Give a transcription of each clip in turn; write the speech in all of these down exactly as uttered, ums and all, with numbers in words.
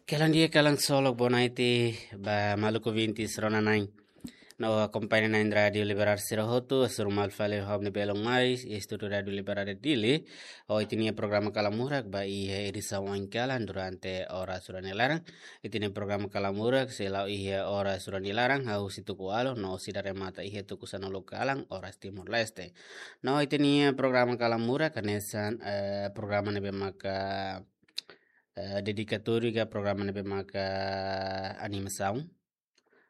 Kalan di'ak, kalan solok, boa noite ba maluk ouvintes rona-na'in no akompaña-na'in Rádiu Liberal sira hotu. Hasoru malu fali ha'u-nia belun maris iha estúdiu Rádiu Liberal Dili. Ohin ita-nia programa Kalan Murak ba iha edisaun oin kalan durante oras rua nia laran. Ita-nia programa Kalan Murak sei la'o iha oras rua nia laran, hahú husi tuku ualu no sei remata iha tuku sanulu kalan oras Timor-Leste. No ita-nia programa Kalan Murak hanesan, eh, programa ne'ebé maka, eh, dedikatóriu ka programa ne'ebé maka animasaun.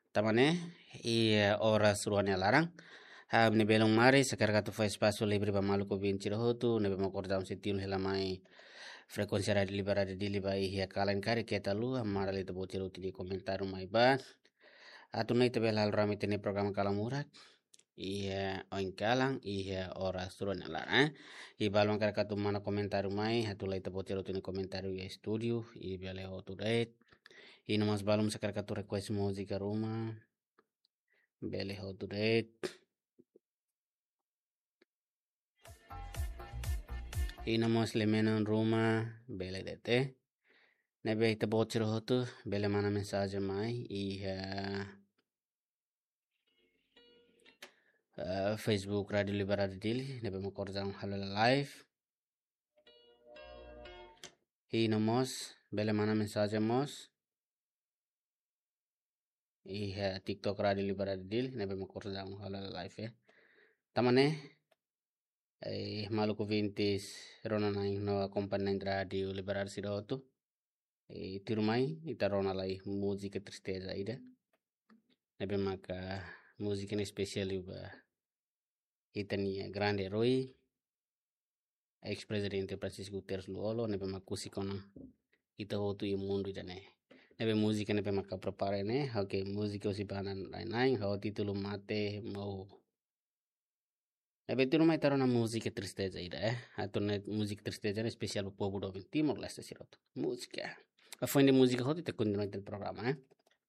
Tanba ne'e, iha oras rua nia laran, ha'u-nia belun maris hakarak atu fó espasu livre ba maluk ouvinte sira hotu ne'ebé mak kordau sei tilun hela mai frekuénsia Rádiu Liberal Dili ba iha kalan karik keta haluha mara lai ita-boot sira hotu nia komentáriu mai ba atu nune'e ita bele halo rame ita-nia programa Kalan Murak iha oin kalan, iha oras rua nia laran, eh. I balu mak hakarak atu manda komentáriu mai, atu lai ita-boot sira hotu nia komentáriu iha estúdiu, i bele hotu de'it. I no mós balu mak hakarak atu request múzika ruma, bele hotu de'it. I no mós lia-menon ruma, bele de'it. Ne'ebé ita-boot sira hotu bele manda mensajen mai iha, eh, Facebook Rádiu Liberal Dili, ne'ebé mak orsida halo live. I no mós bele manda mensajen mós iha TikTok Rádiu Liberal Dili, ne'ebé mak orsida halo live, eh. Tanba ne'e, eh, maluk ouvintes rona-na'in no akompaña-na'in Rádiu Liberal sira hotu, eh, tuirmai ita rona lai múzika tristeza ida, ne'ebé maka múzika ne'e espesiál liu ba ita-nia grande erói, eis-prezidente Francisco Guterres Lú-Olo, ne'ebé mak husik ona ita hotu iha mundu ida-ne'e. Ne'ebé múzika ne'ebé maka prepara ne'e, oke, múzika husi banda na'in-na'in, ho títulu Mate Morro. Ne'ebé tuirmai ita rona múzika tristeza ida, eh. Atu nune'e múzika tristeza ne'e espesiál ba povu doben Timor-Leste sira hotu. Múzika. Hafoin de'it múzika hotu ita kontinua ita-nia programa, eh.